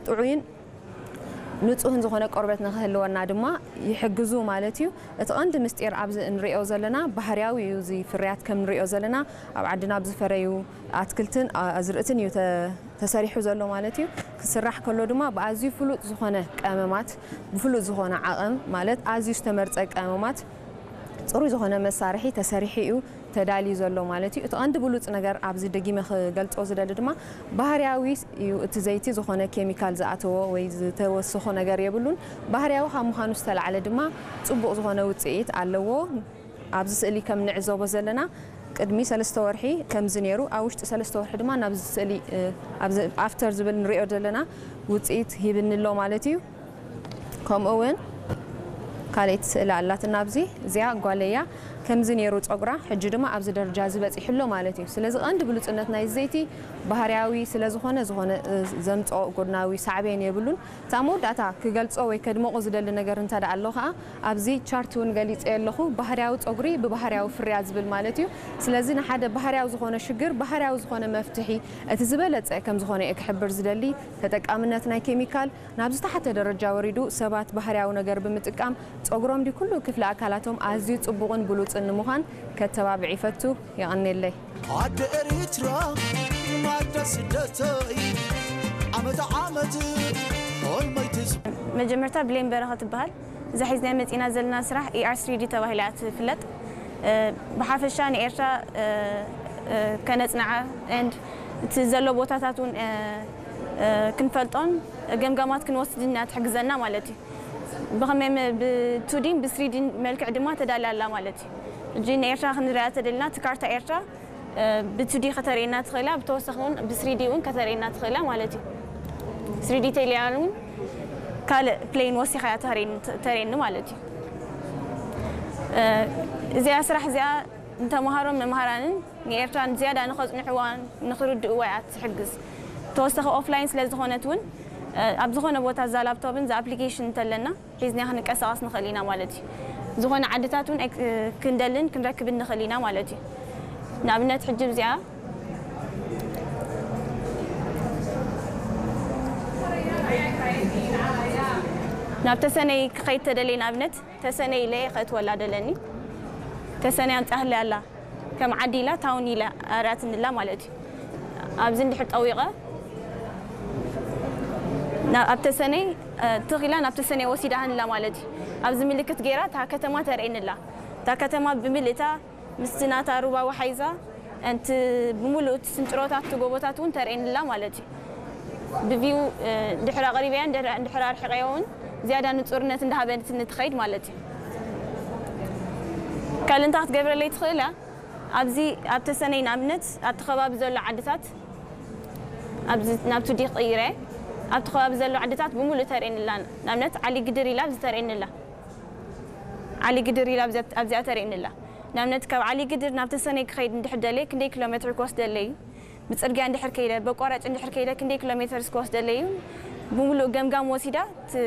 ጥዑይን ንጹህን ዝኾነ ቆርበት ንክህልወና ድማ ይሕግዙ ማለት እዩ። እቲ ቀንዲ ምስጢር ኣብዚ እንሪኦ ዘለና ባህርያዊ እዩ። እዚ ፍርያት ከም ንሪኦ ዘለና ኣብ ዓድና ኣብ ዝፈረዩ ኣትክልትን ኣዝርእትን እዩ ተ-፣ ተሰሪሑ ዘሎ ማለት እዩ። ክስራሕ ከሎ ድማ ብኣዝዩ ፍሉጥ ዝኾነ ቀመማት፣ ብፍሉጥ ዝኾነ ዓቐን ማለት ኣዝዩ ዝተመርጸ ቀመማት ጽሩይ ዝኾነ መሳርሒ ተሰሪሑ እዩ ተዳልዩ ዘሎ ማለት እዩ። እቲ ቀንዲ ብሉጽ ነገር ኣብዚ ደጊመ ክገልጾ ዝደሊ ድማ ባህርያዊ እዩ። እቲ ዘይቲ ዝኾነ ኬሚካል ዝኣተዎ ወይ ዝተወሰኾ ነገር የብሉን። ባህርያዊ ካብ ምዃኑ ዝተላዕለ ድማ ጽቡቕ ዝኾነ ውጽኢት ኣለዎ። ኣብዚ ስእሊ ከም ንዕዘቦ ዘለና ቅድሚ ሰለስተ ወርሒ ከምዚ ነይሩ፣ ኣብ ውሽጢ ሰለስተ ወርሒ ድማ ናብዚ ስእሊ፣ እ፣ ኣብዚ ኣፍተር ዝብል ንሪኦ ዘለና ውጽኢት ሂብኒ ኣሎ ማለት እዩ። ከምኡ እውን ካልኣይቲ ስእሊ ኣላትና ኣብዚ፣ እዚኣ ጓለይ እያ። ከምዚ ነይሩ ጸጉራ፣ ሕጂ ድማ ኣብዚ ደረጃ እዚ በጺሑ ኣሎ ማለት እዩ። ስለዚ ቀንዲ ብሉጽነት ናይ ዘይቲ ባህርያዊ ስለ ዝኾነ፣ ዝኾነ፣ እ፣ ዘምጽኦ ጎድናዊ ሳዕቤን የብሉን። እታ መወዳእታ ክገልጾ ወይ ከድምቖ ዝደሊ ነገር እንተ ደኣ ኣሎ ኸኣ፣ ኣብዚ ቻርት እውን ገሊጸዮ ኣለኹ፣ ባህርያዊ ጸጉሪ ብባህርያዊ ፍርያት ዝብል ማለት እዩ። ስለዚ ንሓደ ባህርያዊ ዝኾነ ሽግር ባህርያዊ ዝኾነ መፍትሒ እቲ ዝበለጸ ከም ዝኾነ እየ ክሕብር ዝደሊ። ተጠቃምነት ናይ ኬሚካል ናብ ዝተሓተ ደረጃ ወሪዱ፣ ሰባት ባህርያዊ ነገር ብምጥቃም ጸጉሮም ድዩ ኩሉ ክፍሊ ኣካላቶም ኣዝዩ ጽቡቕን ብሉጽን ንምዃን ከተባብዕ ይፈቱ። የቐንየለይ። ኣደ ኤሪትራ ማዳ ስደተይ ዓመት ዓመት ሆልመይ ትዝ መጀመርታ ብሌን በረኸት ትበሃል። እዛ ሒዝናያ መጺና ዘለና ስራሕ ኢኣር ስሪዲ ተባሂላ እያ ትፍለጥ። እ፣ ብሓፈሻ ንኤርትራ፣ እ፣ እ፣ ከነጽንዓ ኤንድ እቲ ዘሎ ቦታታት እውን፣ እ፣ እ፣ ክንፈልጦን ገምጋማት ክንወስድን እያ ትሕግዘና ማለት እዩ። ብኸመይ መ-፣ ብቱዲን ብስሪዲን መልክዕ ድማ ተዳልያ ኣላ ማለት እዩ። ሕጂ ንኤርትራ ክንሪኣ ተደሊና እቲ ካርታ ኤርትራ እ፣ ብቱዲ ከተርእየና ትኽእላ፣ ብተወሳኺ እውን ብስሪዲ እውን ከተርእየና ትኽእላ ማለት እዩ። ስሪዲ ተልያ እውን ካልእ ፕሌን ወሲኻ እያ ተርእየኒ፣ ተርእየኒ ማለት እዩ። እ፣ እዚኣ ስራሕ እዚኣ ንተምሃሮን መምሃራንን ንኤርትራ ዝያዳ ንኸጽንዕዋን ንኽርድእዋ እያ ትሕግዝ። ተወሳኺ ኦፍላይን ስለ ዝኾነት እውን፣ እ፣ ኣብ ዝኾነ ቦታ እዛ ላፕቶፕን እዛ ኣፕሊኬሽን እንተለና ሒዝና ክንቀሳቐስ ንኽእል ኢና ማለት እዩ። ዝኾነ ዓድታት እውን ኤክ-፣ ክንደልን ክንረክብን ንኽእል ኢና ማለት እዩ። ንኣብነት ሕጂ እዚኣ ናብ ተሰነይ ክኸይድ ተደልየ፣ ንኣብነት ተሰነይ ኢለ ከእትወላ ደለኒ። ተሰነይ ኣምጻህለይ ኣላ። ከም ዓዲ ኢላ ታውን ኢላ ኣርያትንላ ማለት እዩ። ኣብዚ እንድሕር ጠዊቐ ና-፣ ኣብ ተሰነይ፣ እ፣ ትኽ ኢላ ናብ ተሰነይ ወሲዳሃንላ ማለት እዩ። ኣብዚ ምልክት ገይራ እታ ከተማ ተርእየንላ። እታ ከተማ ብምልእታ ምስቲ ናታ ሩባ ወሓይዛ፣ እንቲ ብምሉእ እቲ ስንጭሮታት፣ እቲ ጎቦታት እውን ተርእየንላ ማለት እዩ። ብቪው፣ እ፣ እንድሕር ኣቕሪበያ፣ እንድሕር፣ እንድሕር ኣርሒቐዮ እውን ዝያዳ ንጹርነት እንዳሃበትኒ ትኸይድ ማለት እዩ። ካልእ እንታይ ክትገብረለይ ትኽእል እያ? ኣብዚ ኣብ ተሰነይ ንኣብነት ኣብቲ ከባቢ ዘሎ ዓድታት ኣብዚ ናብቲ ዲ ክቕይረ ኣብቲ ከባቢ ዘሎ ዓድታት ብምሉእ ተርእየንላ። ንኣብነት ዓሊ ግድር ኢላ ኣብዚ ተርእየንላ። ዓሊ ግድር ኢላ ኣብዚኣ፣ ኣብዚኣ ተርእየንላ። ንኣብነት ካብ ዓሊ ግድር ናብ ተሰነይ ክኸይድ እንድሕር ደልየ ክንደይ ኪሎ ሜትር ክወስደለይ እዩ? ብጽርግያ እንድሕር ከይደ፣ በቋራጭ እንድሕር ከይደ ክንደይ ኪሎ ሜትር ክወስደለይ እዩ? ብምሉእ ገምጋም ወሲዳ ት-፣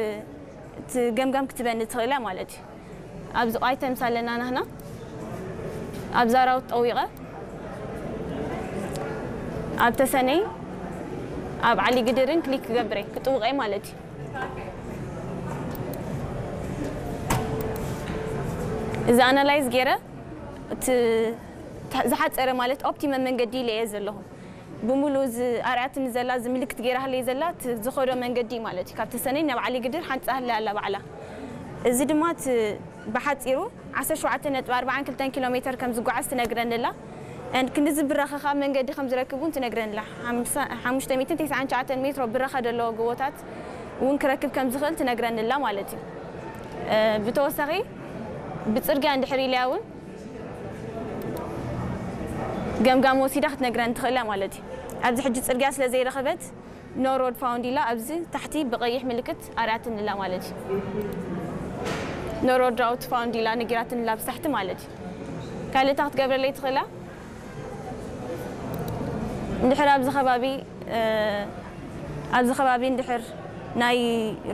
እቲ ገምጋም ክትበኒ ትኽእል እያ ማለት እዩ። ኣብዚ ኣይተምስ ኣለና ናህና ኣብ ዛራውት ጠዊቐ ኣብ ተሰነይ ኣብ ዓሊ ግድርን ክሊክ ክገብረ ክጥውቐ ማለት እዩ። እዚ ኣናላይዝ ገይረ እቲ ተ-፣ ዝሓፀረ ማለት ኦፕቲመም መንገዲ ኢለ እየ ዘለኹ። ብምሉእ እዚ ኣርኣያትኒ ዘላ፣ እዚ ምልክት ገይራትለይ ዘላ፣ እቲ ዝኸዶ መንገዲ ማለት እዩ። ካብ ተሰነይ ናብ ዓሊ ግድር ሓንጻ ህለ ኣላ ባዕላ። እዚ ድማ እቲ ብሓጺሩ ዓሰርተ ሸውዓተ ነጥቢ ኣርባዓን ክልተን ኪሎ ሜተር ከም ዝጓዓዝ ትነግረኒ ኣላ። And ክንድዚ ብራኸ ካብ መንገዲ ከም ዝረክብ እውን ትነግረኒ ኣላ። ሓምሳ፣ ሓሙሽተ ሚእትን ተስዓን ትሽዓተን ሜትሮ ብራኸ ዘለዎ ጎቦታት እውን ክረክብ ከም ዝኽእል ትነግረኒ ኣላ ማለት እዩ። እ፣ ብተወሳኺ ብጽርግያ እንድሕር ኢለያ እውን ገምጋም ወሲዳ ክትነግረኒ ትኽእል እያ ማለት እዩ። ኣብዚ ሕጂ ጽርግያ ስለ ዘይረኸበት ኖ ሮድ ፋውንድ ኢላ ኣብዚ ታሕቲ ብቐይሕ ምልክት ኣርኣያትኒ ኣላ ማለት እዩ። ኖ ሮድ ራውት ፋውንድ ኢላ ነጊራትኒ ኣላ ኣብዚ ታሕቲ ማለት እዩ። ካልእ እንታይ ክትገብረለይ ትኽእል እያ? እንድሕር ኣብዚ ከባቢ፣ እ፣ ኣብዚ ከባቢ እንድሕር ናይ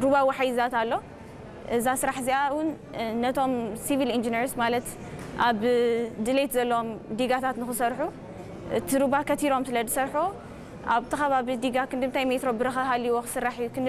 ሩባ ወሓይዛት ኣሎ፣ እዛ ስራሕ እዚኣ እውን፣ እ፣ ነቶም ሲቪል ኢንጂነርስ ማለት ኣብ ድሌት ዘለዎም ዲጋታት ንኽሰርሑ፣ እቲ ሩባ ከቲሮም ስለ ዝሰርሑ፣ ኣብቲ ከባቢ ዲጋ ክንዲ ምንታይ ሜትሮ ብረኸ ሃልይዎ ክስራሕ እዩ፣ ክንዲ